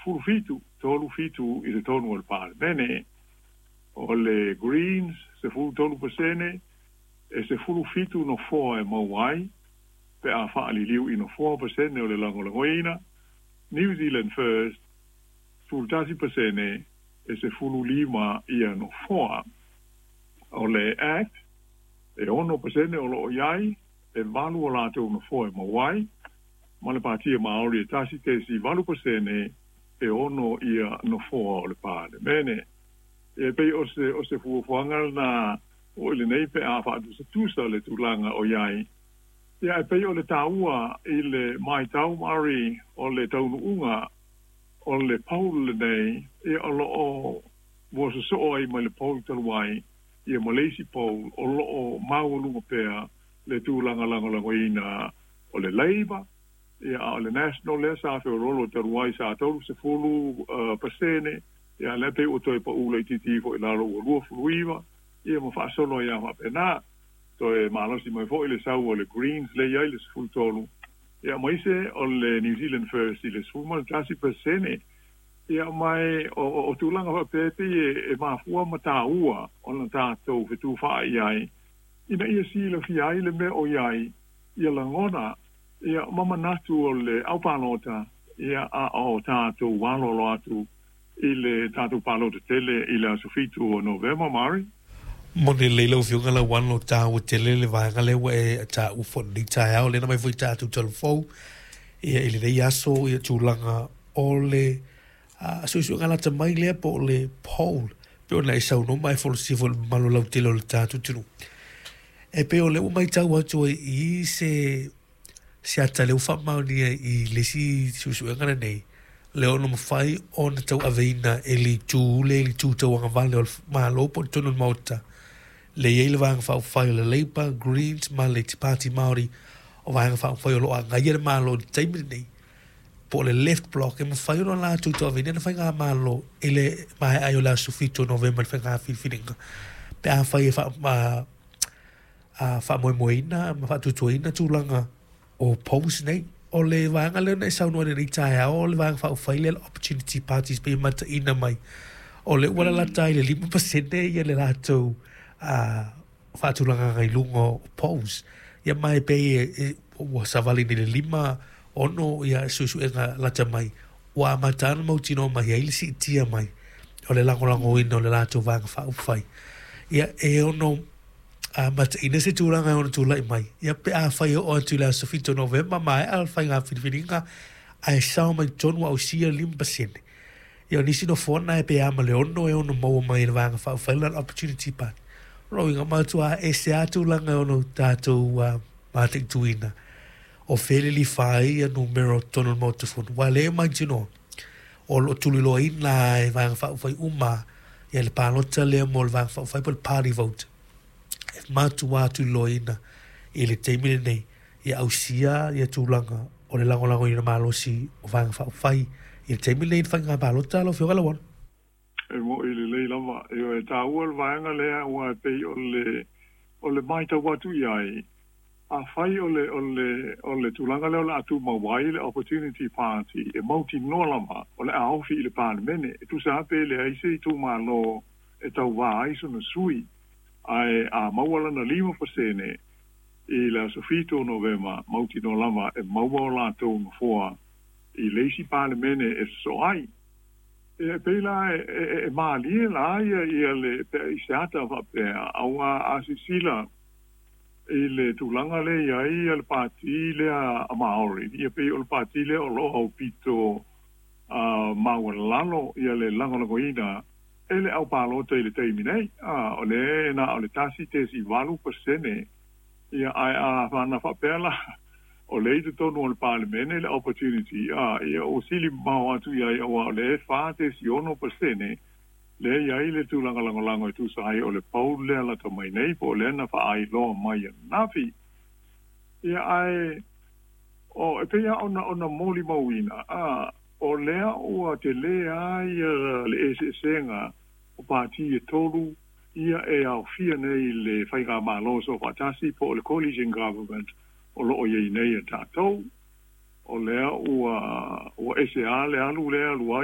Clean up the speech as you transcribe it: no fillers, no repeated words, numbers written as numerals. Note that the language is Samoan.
17, 37 i totonu o le Palemene. O le Greens 13%, e 17 nofoa e maua ai pe a faaliliu i nofoa pasene o le lagolagoina. New Zealand First 11%, e 15 ia nofoa. O le ACT e 6% o loo i ai, e 8 o latou nofoa e maua ai, ma le Patia Maori e 1.8%, e 6 ia nofoa o le Palemene. E pei o se fuafuaga lena o i lenei pe a faatusatusa le tulaga o i ai. Ia, e pei o le taua i le matau, Marie, o le taunuuga o le poll lenei, ia o loo ua sosoo ai mai le poll talu ai ia ma le isi poll, o loo maualuga pea le tulaga lagolagoina o le Labour. Ia, a o le National lea sa feololo talu ai sa 30%, ia lea pei ua toe pau laitiiti foi lalo ua 29, ia ma faasolo ai faapena. Toe malosi mai foi le sau o le Greens le i ai le 13, ia ma ise o le New Zealand First i le 11%. Ia mai o tulaga faapea pei e mafua ma taua ona tatou fetufaai ai ina ia silafia ai le mea o i ai ia lagona ia ma manatu o le aupalota, ia a o tatou alolo atu i le tatou palota tele i le aso 7 o Novema, Mari. Mo le leila o fioga la wan o tā o tele le vaega le ua e tā ufo ni taeao le na mai foi tātou talafou ia i lenei aso ia tulaga o le suesuega lata mai lea po o le poll pe ona e saunoa mai folosia foi le mamalu lautele o le tatou atunuu. E pei o lea ua matau atu ai i se ata lea ua faamaonia i le isi suesuega lenei, le ono mafai ona tauaveina e le itu le itu tauagavale o le Malo po o totonu o le Maota le i ai le Vaega Faaupufai o le Labour, Greens ma le Pāti Māori, o Vaega Faaupufai o lo o agaia le Malo i le taimi lenei po o le Left Block, e mafai ona latou tauaveina le faigamalo i le maea ai o le aso 7 o Novema le faiga filifiliga pe afai e faamoemoeina ma faatuatuaina tulaga o polls nei. O le vaega lea na e saunoa i lenei taeao, o le Vaega Faaupufai lea, le Opportunity Parties, pe mataina mai o le ua lalata ai le 5% ia le latou faatulagaga i luga o polls, ia ma e pei ua savali nei le 5-6 ia suesuega lata mai ua amata ana mautinoa mai ai le siitia mai o le lagolagoina o le latou Vaega Faaupufai. Ia e ono mataina se tulaga e ono tulai mai ia pe afai oo atu i le aso 7 o Novema maea le faiga filifiliga ae sao mai totonu ausia le 5%. Ia o nisi nofoa na e pe a ma le 6 e ono maua mai e le Vaega Faaupufai la Opportunity Party. O lona uiga matua ese lava tulaga e ono tatou mataituina o fea le lilifa ai ia numera o totonu o le Maota Fono, ua le mautinoa o lo o tuliloaina e Vaega Faaupufai uma ia le palota lea mo le Vaega Faaupufai po o le party vote, e matua tuliloaina i le taimi lenei ia ausia ia tulaga o le lagolagoina malosi o Vaega Faaupufai i le taimi lenei i le faiga palota, lau Afioga Lauano. E mo'i lelei lava e taua le vaega lea ua e pei o le matau atu i ai. Afai o le tulaga lea o le a tumau ai le Opportunity Party, e mautinoa lava o le a ofi i le Palemene e tusa pe leai se itumalo e tauvā ai sona sui, ae a maua lana 5% i le aso 7 o Novema, mautinoa lava e maua o latou nofoa i le isi Palemene e sosoo ai. E pei la e malie la ia le i se ata faapea aua a sisila i le tulaga lea i ai le pati lea a Maori, ia pei o le pati lea o loo aupito maualalo ia le lagolagoina e le aupalota i le taimi nei, o le na o le 1.8%. Ia ae a fana faapea la o le i totonu o le Palemene le Opportunity, ia ua sili mamao atu i ai auā o le 4.6% lea i ai le tulaga lagolago e tusa ai o le poll lea lata mai nei po o lea na faailoa mai ananafi. Ia ae o e pei ona molimauina o lea ua telē a ia le eseesega o pati e tolu ia e aofia nei le faigamalo soofaatasi po o le coalition government o loo iai nei e tatou. O lea ua ese a le alu lea alu ai.